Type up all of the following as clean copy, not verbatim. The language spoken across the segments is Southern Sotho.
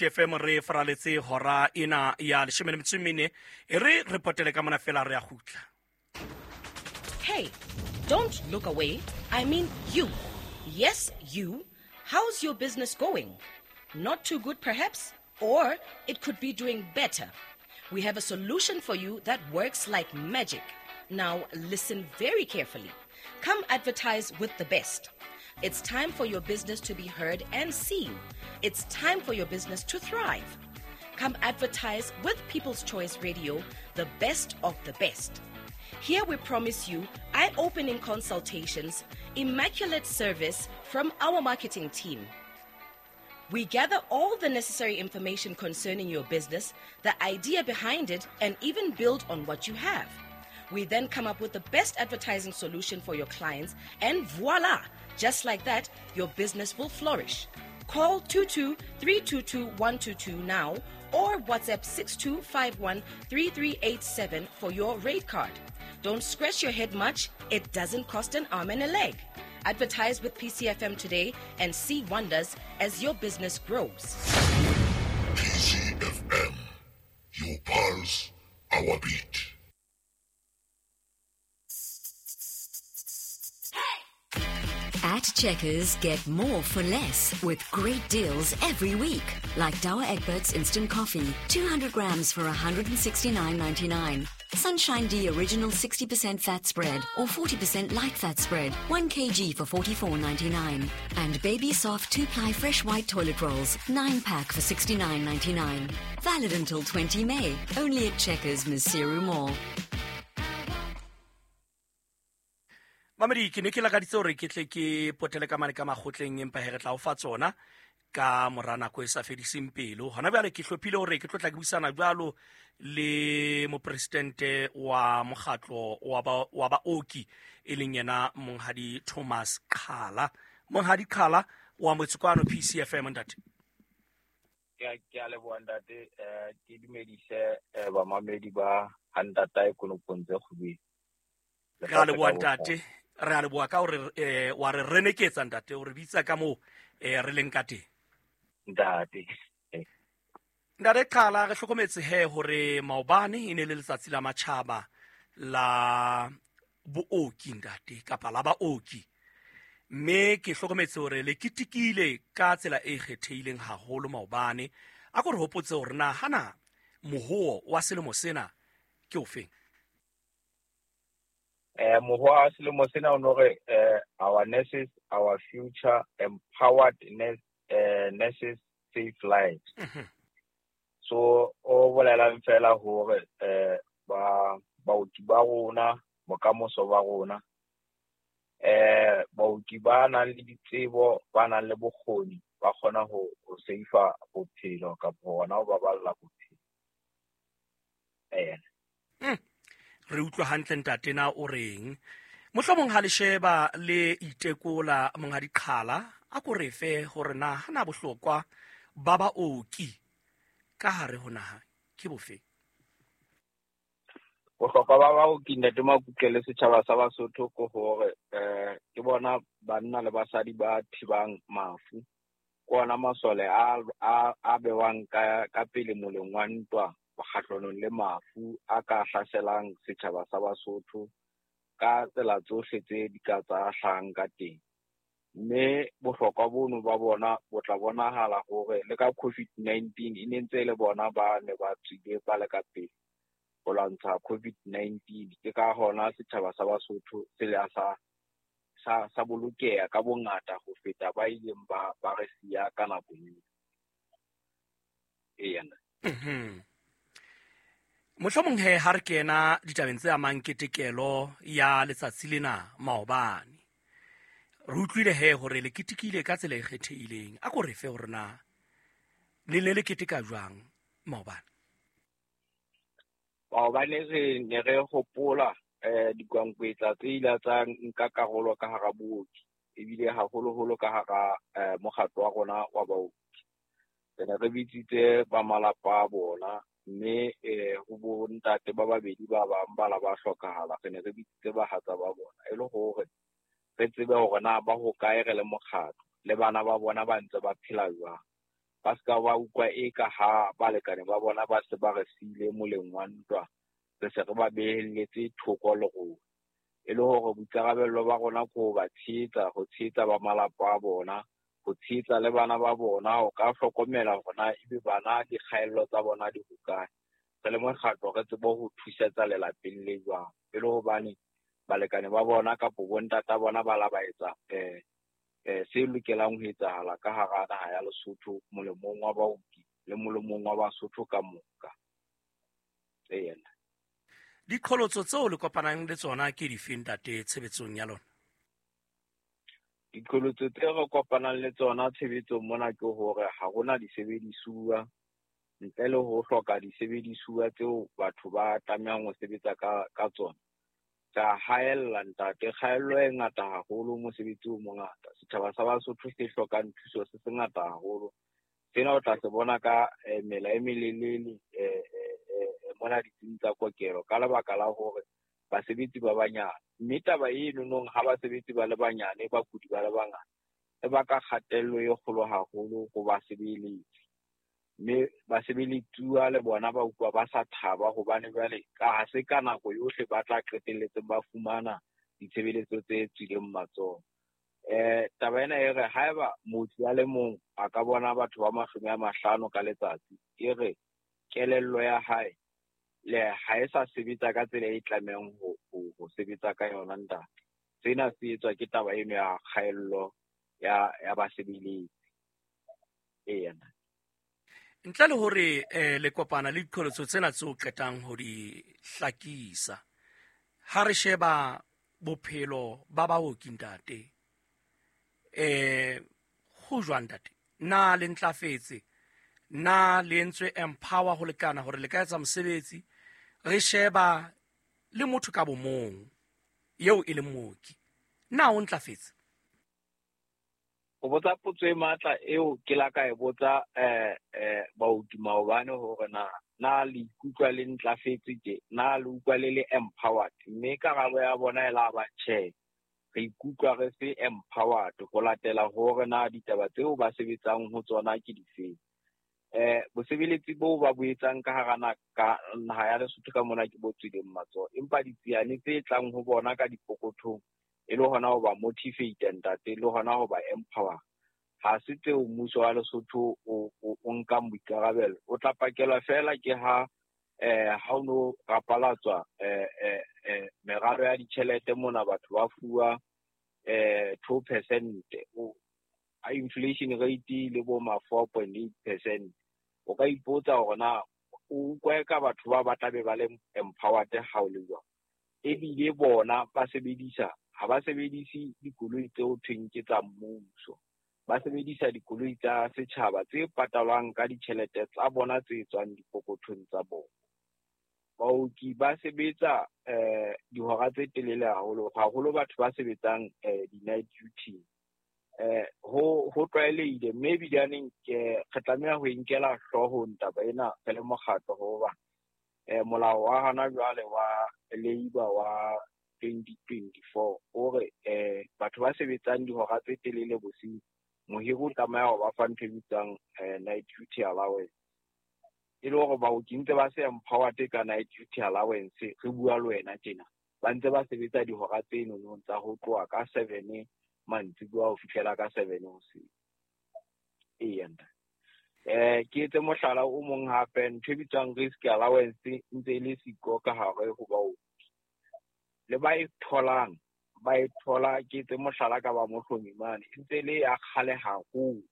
Fm re faraletse hora ena ya 14 e re re potele ka mona fela re a gutla. Hey, don't look away. I mean you. Yes, you. How's your business going? Not too good, perhaps? Or it could be doing better. We have a solution for you that works like magic. Now, listen very carefully. Come advertise with the best. It's time for your business to be heard and seen. It's time for your business to thrive. Come advertise with People's Choice Radio, the best of the best. Here we promise you eye opening consultations, immaculate service from our marketing team. We gather all the necessary information concerning your business, the idea behind it, and even build on what you have. We then come up with the best advertising solution for your clients, and voila! Just like that, your business will flourish. Call 22 322 122 now or WhatsApp 6251 3387 for your rate card. Don't scratch your head much, it doesn't cost an arm and a leg. Advertise with PCFM today and see wonders as your business grows. PCFM, your pulse, our beat. At Checkers, get more for less with great deals every week. Like Douwe Egberts Instant Coffee, 200 grams for 169.99. Sunshine D Original 60% fat spread or 40% light fat spread, 1 kg for 44.99. And Baby Soft 2-ply fresh white toilet rolls, 9 pack for 69.99. Valid until 20 May, only at Checkers, Maseru Mall. Mamedi, ke ne ke lakaditse hore ke tle ke potele ka mane ka makgotleng, empa he re tla o fa tsona ka mora nako e sa fediseng pelo. Hona bjale ke hlophile hore ke tlo tla ke buisana jwalo le mopresidente wa mokgatlo wa baoki, e leng yena Monghadi Thomas Qhala. Monghadi Qhala wa Motsekwano PCFM, ntate. Ke a leboha ntate, ke dumedise bamamedi ba ha ntatae konopong tse kgubedi. Re a leboha ntate, re a leboha ka hore wa re reneketsa ntate, o re bitsa ka moo re leng ka teng. Ntate. Ntate Qhala, re hlokometse he hore maobane e ne le letsatsi la matjhaba la booki ntate, kapa la baoki. Mme ke hlokometse hore le ketekile ka tsela e kgethehileng haholo maobane. A ko re hopotse hore na hana mohoo wa selemo sena ke ofeng? Mohoo wa selemo sena o no re our nurses, our future, empowered nurses, safe lives. So o bolelang fela hore ba baoki ba rona, bokamoso ba rona, baoki ba nang le ditsebo, ba nang le bokgoni, ba kgona ho save bophelo kapa hona ho baballa bophelo. Re utlwa hantle ntate na o reng. Mohlomong ha le sheba le itekola Monghadi Qhala, a ko re fe hore na hana bohlokwa ba baoki ka hare ho naha ke bofe? Bohlokwa ba baoki ntate Makutle le setjhaba sa Basotho ke hore ke bona banna le basadi ba thibang mafu. Ke ona masole a bewang ka pele moleng wa ntwa kgahlanong le mafu a ka hlaselang setjhaba sa Basotho ka tsela tsohle tse di ka tsa hlahang ka teng. Mme bohlokwa bono ba bona bo tla bonahala hore le ka COVID-19 e ne ntse e le bona ba ne ba tswile ba le ka pele ho lwantsha COVID-19. Ke ka hona setjhaba sa Basotho se le sa bolokeha ka bongata ho feta ba ileng ba re siya ka nako eo. Eya. Mohlomong he ha re kena ditabeng tse amang ketekelo ya letsatsi lena maobane, re utlwile he hore le ketekile ka tsela e kgethehileng. A ko re fe hore na le ne le keteka jwang maobane? Maobane re ne re hopola dikwankwetla tse ile tsa nka karolo ka hara booki, ebile haholoholo ka hara mokgatlo wa rona wa baoki. Re ne re bitsitse ba malapa a bona, mme ho bo ntate ba babedi ba bang ba la ba hlokahala. Re ne re bitsitse bahatsa ba bona e le hore re tsebe hore na ba hokae re le mokgatlo, le bana ba bona ba ntse ba phela jwang. Ba ska ba utlwa e ka ha balekane ba bona ba se ba re siile moleng wa ntwa, re se re ba behelletse thoko le rona. E le hore boikarabello ba rona ke ho ba tshehetsa, ho tshehetsa ba malapa a bona, ho tshehetsa le bana ba bona, ho ka hlokomela hore na ebe bana dikgaello tsa bona di hokae. Re le mokgatlo re tsebe ho thusetsa lelapeng le jwang. E le hobane balekane ba bona kapo bontata bona ba la ba etsa se lokelang ho etsahala ka hara naha ya Lesotho molemong wa baoki le molemong wa Basotho ka moka. Eya. Diqholotso tseo le kopanang le tsona ke dife ntate tshebetsong ya lona? Diqholotso tse re kopanang le tsona tshebetsong mona ke hore ha hona disebedisuwa, ntle le ho hloka disebedisuwa tseo batho ba tlamehang ho sebetsa ka tsona. Ka haella ntate, kgaello e ngata haholo, mosebetsi o mongata. Setjhaba sa Basotho se hlokang thuso se sengata haholo. Sena o tla se bona ka mela e melelele mona ditsing tsa kokelo ka lebaka la hore basebetsi ba banyane. Mme taba eno nong ha basebetsi ba le banyane, bakudi ba le bangata, e baka kgatello e kgolo haholo ho basebeletsi. Mme basebeletsuwa le bona ba utlwa ba sa thaba hobane jwale ka ha se ka nako yohle ba tla qetelletseng ba fumana ditshebeletso tse tswileng matsoho. Taba ena e re haeba mooki a le mong a ka bona batho ba 50 ka letsatsi, e re kelello ya hae le ha e sa sebetsa ka tsela e tlamehang ho sebetsa ka yona ntate. Sena se etswa ke taba eno ya kgaello ya basebeletsi. Eya. Ntle le hore le kopana le diqholotso tsena tseo qetang ho di hlakisa, ha re sheba bophelo ba baoki ntate, ho jwang ntate? Na le ntlafetse? Na le entswe empower ho lekana hore le ka etsa mosebetsi? Re sheba le motho ka bomong eo e leng mooki, na o ntlafetse? O botsa potso e matla eo ke la ka e botsa baoki maobane hore na le ikutlwa le ntlafetse tje, na le utlwa le le empowered. Mme karabo ya bona e la ba tjhe, re ikutlwa re se empowered ho latela hore na ditaba tseo ba sebetsang ho tsona ke difeng. Bosebeletsi boo ba bo etsang ka hara naha ya Lesotho ka mona ke bo tswileng matsoho, empa ditsiane tse tlang ho bona ka dipokothong e le hona ho ba motivate ntate, le hona ho ba empower. Ha se tseo mmuso wa Lesotho o nkang boikarabelo. O tla pakelwa fela ke ha ha o no rapalatswa meralo ya ditjhelete mona, batho ba fuwa 2%, inflation rate le bo ma 4.8%. O ka ipotsa hore na o utlwa ka batho ba ba tla be ba le empowered ha o le jwang. Ebile bona ba sebedisa, ha ba sebedise dikoloi tseo thweng ke tsa mmuso, ba sebedisa dikoloi tsa setjhaba tse patalwang ka ditjhelete tsa bona tse tswang dipokothong tsa bona. Baoki ba sebetsa dihora tse telele haholo, haholo batho ba sebetsang di-night duty. Ho tlwaelehile, mme ebilaneng re tlameha ho inkela hloohong taba ena re le mokgatlo, hoba molao wa hona jwale wa labour wa 2024 o re batho ba sebetsang dihora tse telele bosiu, mohiri o tlameha ho ba fa ntho e bitswang night duty allowance. E le hore baoki ntse ba se empowered ka night duty allowance, re bua le wena tjena, ba ntse ba sebetsa dihora tse nonong tsa ho tloha ka 7 mantsiboya ho fihlela ka 7 hoseng. Eya ntate. Ke etse mohlala o mong hape, ntho e bitswang risk allowance ntse e le siko ka hare ho baoki. Le ba e tholang, ba e thola, ke etse mohlala ka ba Mohlomi mane, e ntse le ya kgale haholo.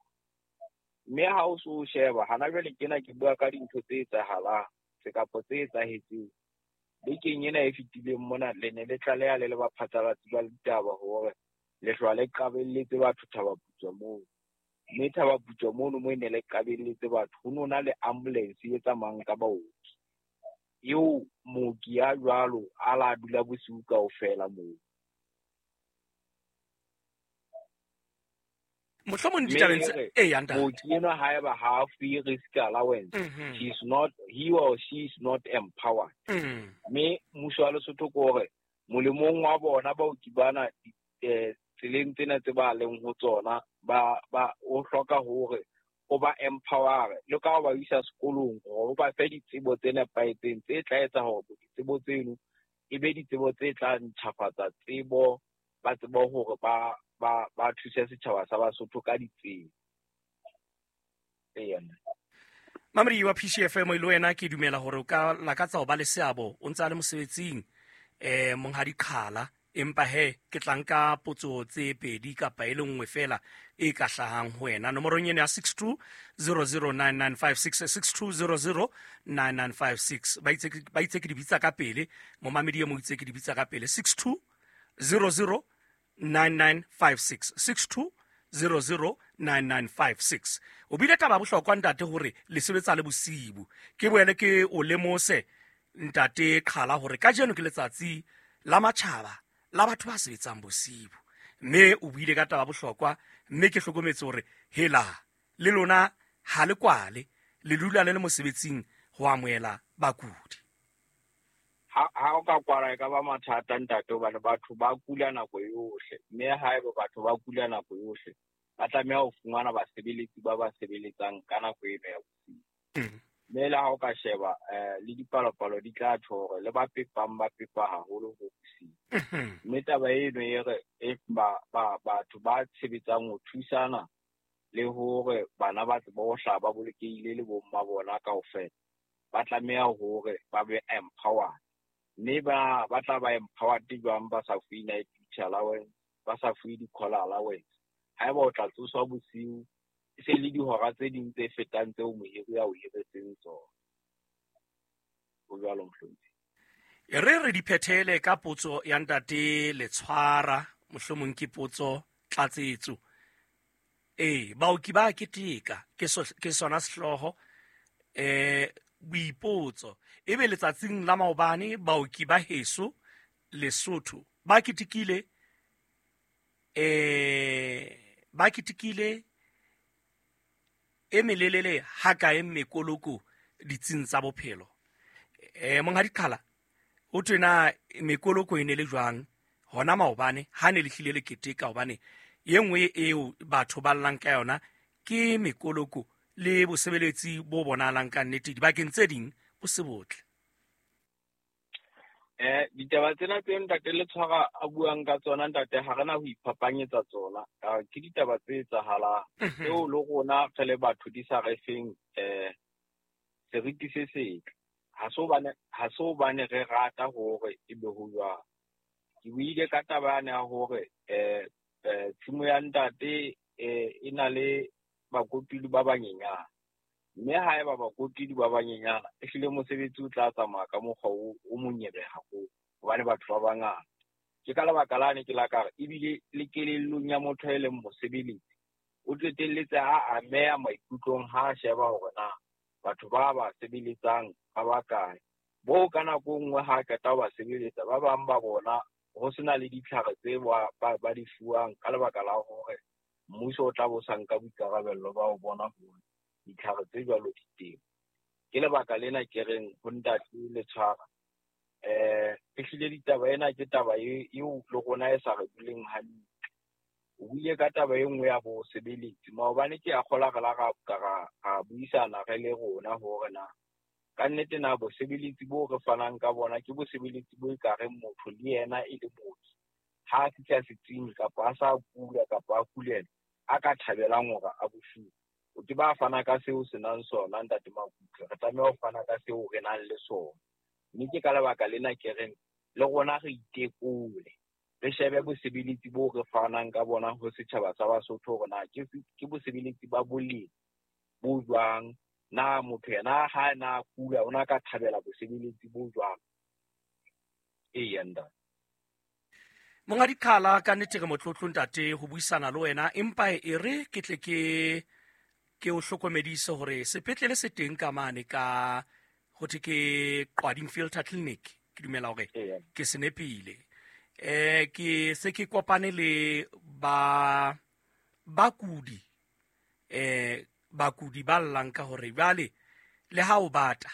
Mme ha o so sheba, hana jwale kena ke bua ka dintho tse etsahalang, tse kapo tse etsahetseng. Bekeng ena e fetileng mona, le ne le tlaleha le le baphatlalatsi ba ditaba hore lehlwa le qabelletse batho Thabaputswa moo. Mme Thabaputswa mono mo e ne le qabelletse batho, ho no na le ambulance e tsamayang ka baoki. Eo mooki ya jwalo a la dula bosiu kaofela moo. Mohlomong ditabeng tse eya ntate. Mooki enwa haeba ha a fuwe risk allowance, he is not, he or she is not empowered. Mme mmuso wa Lesotho ke hore molemong wa bona baoki bana tseleng tsena tse ba leng ho tsona, ba o hloka hore O ba empower le ka ho ba isa sekolong hore o ba fe ditsebo tse nepahetseng tse tla etsa hore ditsebo tseno e be ditsebo tse tla ntjhafatsa tsebo, ba tsebe hore ba thuse setjhaba sa Basotho ka ditsebo. Eya. Mamedi wa PCFM, le wena ke dumela hore o ka lakatsa ho ba le seabo o ntse a le mosebetsing, monghadi Qhala, empa he ke tla nka potso tse pedi kapa e le nngwe fela e ka hlahang ho wena nomorong eno ya 62009956, 62009956. Ba itse ke di bitsa ka pele, momamedi e mong itse ke di bitsa ka pele. 62009956, 62009956. O bile taba ya bohlokwa, ntate, hore le sebetsa le bosibu. Ke boele ke o lemose, ntate Qhala, hore kajeno ke letsatsi la matjhaba la batho ba sebetsang bosibu, mme o buile ka taba bohlokwa, mme ke hlokometse hore hela le lona ha le kwale, le dula le le mosebetsing ho amohela bakudi. Ha o ka kwala e ka ba mathata, ntate, hobane batho ba kula nako yohle, mme haeba batho ba kula nako yohle ba tlameha ho fumana basebeletsi ba ba sebeletsang ka nako eno ya bosiu. Mme le ha o ka sheba, le dipalopalo di tla tjho hore le ba pepang ba pepa haholo ho bosiu. Mme taba eno e re e ba batho ba tshebetsang ho thusana le hore bana ba tsebe ho hlaha ba bolokehile le bomma bona kaofela, ba tlameha hore ba be empowered. Mme ba tla ba empowered jwang ba sa fuwe night duty allowance, ba sa fuwe di-call allowance? Haeba o tla tsoswa bosiu, e se le dihora tse ding tse fetang tseo mohiri a o hiretseng tsona. Ho jwalo, mohlomphehi. E re di phethele ka potso ya ntate Letshwara, mohlomong ke potso tlatsetso. Ee, baoki ba keteka, ke sona sehlooho. Boipotso ebe letsatsing la maobane baoki ba heso Lesotho ba ketekile, ba ketekile e melelele hakae mekoloko ditsing tsa bophelo? Monghadi Qhala, ho thwe na mekoloko e ne le jwang hona maobane ha ne le hlile le keteka? Hobane e nngwe eo batho ba llang ka yona ke mekoloko le bosebeletsi bo bonahalang ka nnete dibakeng tse ding bo se botle. Ditaba tsena tse ntate Letshwara a buang ka tsona, ntate, ha rena ho iphapanyetsa tsona. Ke ditaba tse etsahalang tseo le rona re le batho di sa re feng seriti se setle. Ha se hobane re rata hore e be ho jwang. Ke buile ka taba yane ya hore tshimo ya ntate e na le bakotudi ba banyenyane, mme haeba bakotudi ba banyenyana, ehlile mosebetsi o tla tsamaya ka mokgwa o monyebe haholo, hobane batho ba bangata. Ke ka lebaka lane ke la ka re ebile le kelellong ya motho e leng mosebeletsi o qetelletse a ameha maikutlong ha a sheba hore na batho ba ba sebeletsang ba bakae. Bo ka nako e nngwe ha qeta ho ba sebeletsa, ba bang ba bona ho sena le ditlhare tse ba di fuwang ka lebaka la hore mmuso o tla bo sa nka boikarabello ba ho bona hore ditlhare tse jwalo di teng. Ke lebaka lena ke reng ho ntate Letshwara, ehlile ditaba ena ke taba eo le rona e sa re duleng hantle. O buile ka taba e nngwe ya bosebeletsi maobane, ke a kgola re la ra buisana re le rona hore na ka nnete na bosebeletsi bo re fanang ka bona ke bosebeletsi bo ekareng motho le yena e le mooki ha a fihla setsing kapa a sa kula kapa a kulela a ka thabelang hore a bo fuwe. O ke ba fana ka seo se nang sona, ntate Makutle, re tlameha ho fana ka seo re nang le sona. Mme ke ka lebaka lena ke reng le rona re itekole, re shebe bosebeletsi bo re fanang ka bona ho setjhaba sa Basotho hore na ke bosebeletsi ba boleng bo jwang, na motho yena ha na kula o na ka thabela bosebeletsi bo jwang. Eya, ntate. Monghadi Qhala, ka nnete re motlotlo, ntate, ho buisana le wena, empa e re ke tle ke o hlokomedise hore sepetlele se teng ka mane ka ho thwe ke Qwading Filter Clinic, ke dumela hore ke se nepile. Ke se ke kopane le ba bakudi, bakudi ba llang ka hore jwale le ha o bata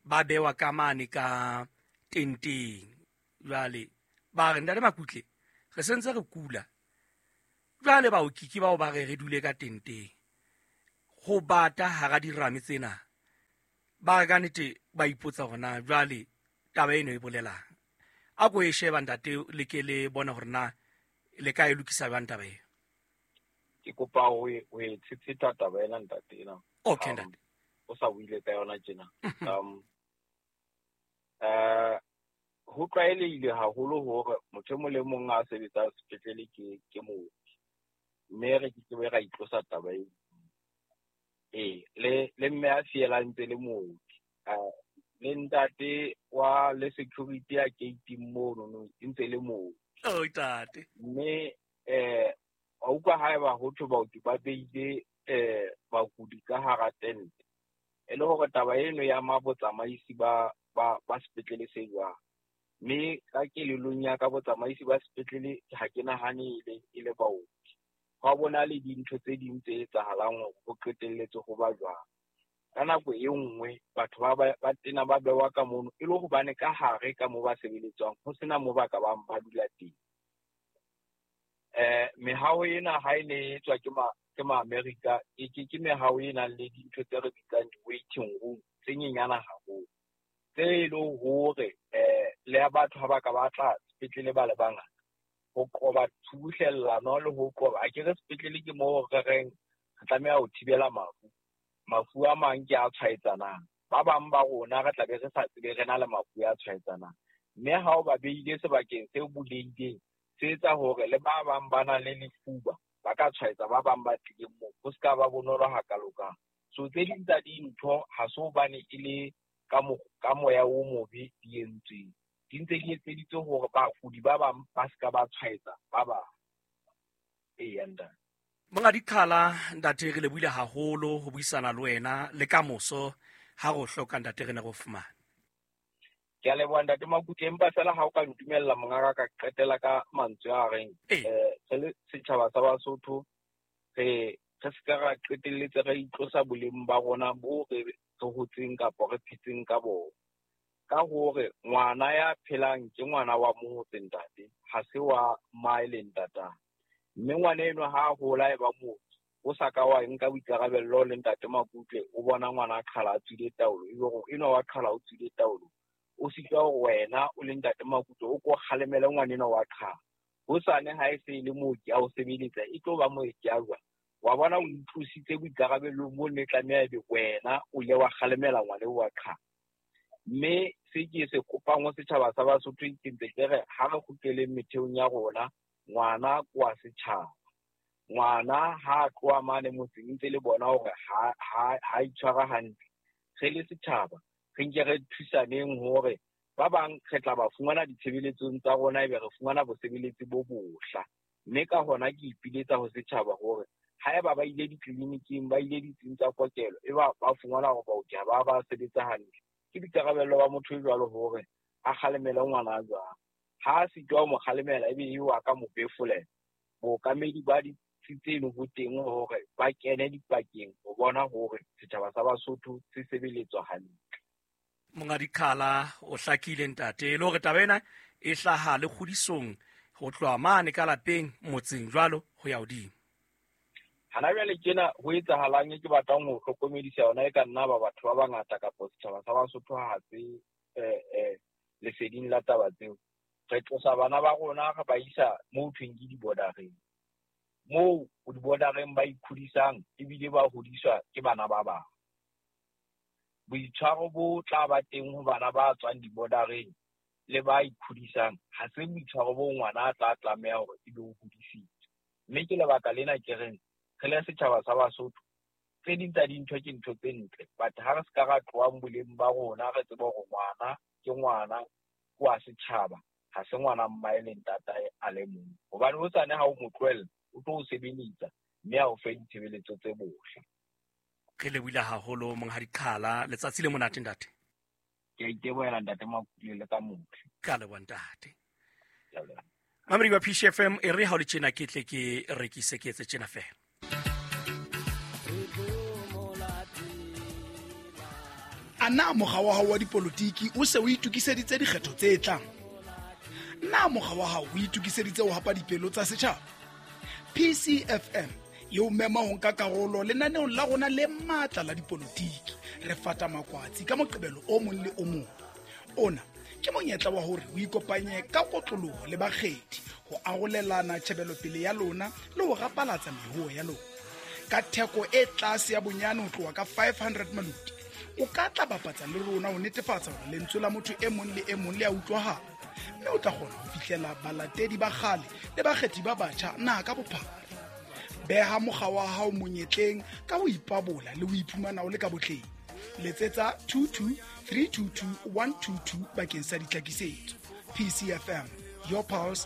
ba bewa ka mane ka tenteng. Jwale ba re, ntate Makutle, re sentse re kula, jwale baoki ke bao ba re re dule ka tenteng. Ho bata hara dirame tsena. Ba ka nnete ba ipotsa hore na jwale taba eno e bolelang. A ko e sheba ntate le ke le bone hore na le ka e lokisa jwang taba eo. Ke kopa ho e tshetsheta taba ena ntate ena. Okay ntate. O sa buile ka yona tjena. Ho tlwaelehile haholo hore motho e mong le mong a sebetsang sepetlele ke mooki. Mme re ke ke ra itlosa taba eo. Ee, le mme a fielang ntse le mooki. Le ntate wa le security ya gate mono no ntse le mooki. Oh ntate. Mme wa utlwa haeba ho thwe baoki ba beile bakudi ka hara tente. E le hore taba eno ya ma botsamaisi ba sepetlele se jwang. Mme ka kelellong ya ka botsamaisi ba sepetlele ha ke nahane e le baoki. Hwa bona le dintho tse ding tse etsahalang hore ho qetelletse ho ba jwang. Ka nako e nngwe batho ba tena ba bewa ka mono e le hobane ka hare ka moo ba sebeletswang ho sena moo ba ka bang ba dula teng. Mehao ena ha e ne e tswa ke ma-Amerika, ke mehao e nang le dintho tse re bitsang di-waiting room tse nyenyana haholo. Tse e leng hore le batho ha ba ka ba tla sepetlele ba le bangata ho qoba tshubuhlellano le ho qoba a ke re sepetlele ke moo re reng re tlameha ho thibela mafu. Mafu a mang ke a tshwaetsanang. Ba bang ba rona re tla be re sa tsebe re na le mafu a tshwaetsanang. Mme ha o ba beile sebakeng se bulehileng se etsa hore le ba bang ba nang le lefuba ba ka tshwaetsa ba bang ba tlileng moo. Ho se ka ba bonolo hakalokang. So tse ding tsa dintho ha se hobane e le ka moya o mobe di entsweng. Di ntse di etseditswe hore bakudi ba bang ba se ka ba tshwaetsa ba bang. Eya ntate. Monga Dikhala ntate re lebohile haholo ho buisana le wena le ka moso ha re o hloka ntate re ne re o fumane. Ke a leboha ntate Makutle, empa fela ha o ka ntumella monga ka qetela ka mantswe a reng re le setjhaba sa Basotho re se ka ra qetelletse re itlosa boleng ba rona bo re hotseng kapa re phetseng ka bona. Ka hore ngwana ya phelang ke ngwana wa motse ntate, ha se wa mmae le ntatae. Mme ngwana enwa ha a hola e ba mooki, o sa ka wa nka boikarabello le ntate Makutle, o bona ngwana a qhala a tswile taolo, ebe hore enwa wa qhala o tswile taolo. O sitwa hore wena o le ntate Makutle o ko kgalemele ngwana enwa wa qhala. Hosane ha e se e le mooki a o sebeletsa, e tlo ba mooki a jwang? Wa bona o itlositse boikarabellong bo ne tlameha ebe wena o ile wa kgalemela ngwana eo wa qhala. Mme se ke se kopang ho setjhaba sa Basotho ke ntse ke re ha re kgutleleng metheong ya rona, ngwana ke wa setjhaba. Ngwana ha a tloha mane motseng ntse le bona hore ha itshwara hantle. Re le setjhaba re nke re thusaneng hore ba bang re tla ba fumana ditshebeletsong tsa rona ebe re fumana bosebeletsi bo bohla. Mme ka hona ke ipiletsa ho setjhaba hore haeba ba ile ditleliniking, ba ile ditsing tsa kokelo, e ba fumana hore baoki ha ba sebetsa hantle. Ke boikarabello ba motho e jwalo hore a kgalemele ngwana jwang. Ha a sitwa ho mo kgalemela ebe eo a ka mo befolela. Bookamedi ba ditsi tseno bo teng hore ba kene dipakeng ho bona hore setjhaba sa Basotho se sebeletswa hantle. Monga Dikhala o hlakile ntate, le hore taba ena e hlaha le kgodisong ho tloha mane ka lapeng motseng jwalo ho ya hodimo. Hana jwale tjena ho etsahalang e ke batlang ho hlokomedisa yona e ka nna ba batho ba bangata kapa setjhaba sa Basotho ha se leseding la taba tseo. Re tlosa bana ba rona re ba isa moo thweng ke di-bordereng. Moo di-bordereng ba ikgodisang ebile ba hodiswa ke bana ba bang. Boitshwaro bo tla ba teng ho bana ba tswang di-bordereng le ba ikgodisang ha se boitshwaro bo ngwana a tla tlameha hore ebe o hodisitswe. Mme ke lebaka lena ke reng re le setjhaba sa Basotho tse ding tsa dintho ke ntho tse ntle, but ha re se ka ra tlohang boleng ba rona re tsebe hore ngwana ke ngwana wa setjhaba, ha se ngwana mmae le ntatae a le mong. Hobane hosane ha o mo tlohella o tlo o sebeletsa mme a o fe ditshebeletso tse bohle. Re lebohile haholo monghadi Qhala, letsatsi le monate ntate. Ke a itebohela ntate Makutle le ka motle. Ka leboha ntate. Mamedi wa PCFM e re ha o le tjena ke tle ke rekise ke etse tjena fela. A na mokga wa hao wa dipolotiki o se o itokiseditse dikgetho tse tlang? Na mokga wa hao o itokiseditse ho hapa dipelo tsa setjhaba? PCFM Le o mema ho nka karolo lenaneong la rona le matla la dipolotiki. Re fata makwatsi ka Moqebelo o mong le o mong. Ona ke monyetla wa hore o ikopanye ka kotloloho le bakgethi ho arolelana tjhebelopele ya lona le ho rapalatsa mehoo ya lona. Ka theko e tlase ya bonyane ho tloha ka 500 maloti, o ka tla bapatsa le rona ho netefatsa hore lentswe la motho e mong le e mong le a utlwahala, mme o tla kgona ho fihlela balatedi ba kgale le bakgethi ba batjha naha ka bophara. Beha mokga wa hao monyetleng ka ho ipabola le ho iphumana o le ka botleng. Letsetsa 22 322 122 bakeng sa ditlhakisetso. PCFM, your pulse,